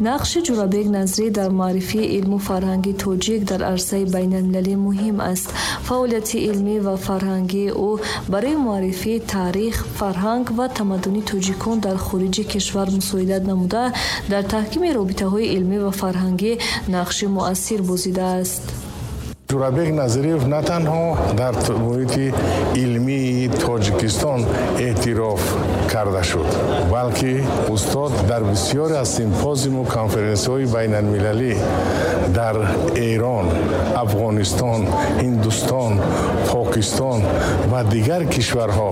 Нақши Ҷӯрабек Назрӣ дар муаррифии илму фарҳанги тоҷик дар арсаи байналмилалӣ муҳим аст. Фаъолияти илмӣ ва фарҳангии ӯ барои муаррифии таърих, фарҳанг ва тамаддуни тоҷикон дар хориҷи кишвар мусоидат намуда, дар таҳкими робитаҳои илмӣ ва фарҳангӣ нақши муассир бозидааст. Ҷӯрабек Назриев на танҳо дар муҳити илмии Тоҷикистон эътироф карда шуд, балки устод дар бисёре аз симпозиуму конференсияҳои байналмилалӣ дар Эрон, Афғонистон, Ҳиндустон, Покистон ва дигар кишварҳо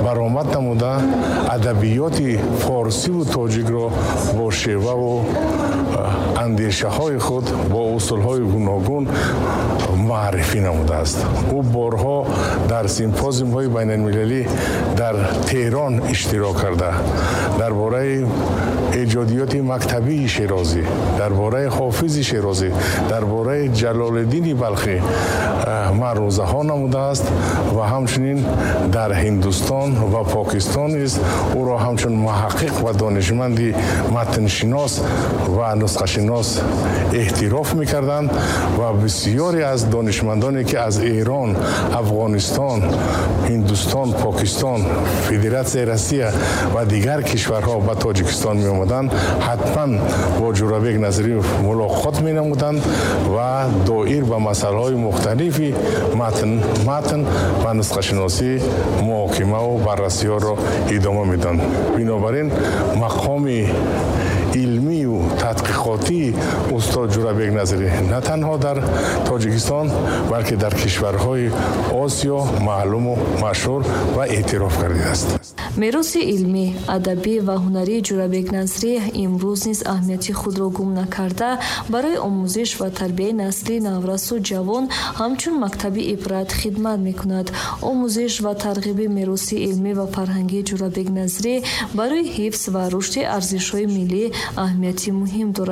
баромад намуда, адабиёти форсиву тоҷикро бо шеваву андешаҳои худ бо усулҳои гуногун муаррифӣ намудааст. Ӯ борҳо дар симпозиумҳои байналмилалӣ дар Теҳрон иштирок карда, дар бораи эҷодиёти мактабии Шерозӣ, дар бораи Ҳофизи Шерозӣ, дар бораи Ҷалолиддини Балхӣ маърузаҳо намудааст ва ҳамчунин дар Ҳиндустон ва Покистон низ ӯро ҳамчун муҳаққиқ ва донишманди матншинос ва нусхашинос эътироф мекарданд ва бисёре аз донишмандоне, ки аз Эрон, Афғонистон, Ҳиндустон, Покистон, Федератсияи Россия ва дигар кишварҳо ба Тоҷикистон меомаданд, ҳатман бо Ҷӯрабек Назриев мулоқот менамуданд ва доир ба масъалаҳои мухталифи матн ва нусхашиносӣ муҳокимаву баррасиҳоро идома медоданд. Бинобар ин мақоми илмию тадқиқотии устод Ҷӯрабек Назрӣ на танҳо дар Тоҷикистон, балки дар кишварҳои Осиё маълуму машҳур ва эътироф гардидааст. Мероси илмӣ, адабӣ ва ҳунарии Ҷӯрабек Назрӣ имрӯз низ аҳамияти худро гум накарда, барои омӯзиш ва тарбияи насли наврасу ҷавон ҳамчун мактаби ибрат хидмат мекунад. Омӯзиш ва тарғиби мероси илмӣ ва фарҳангии Ҷӯрабек Назрӣ барои ҳифз ва рушди арзишҳои миллӣ аҳамияти муҳим дорад.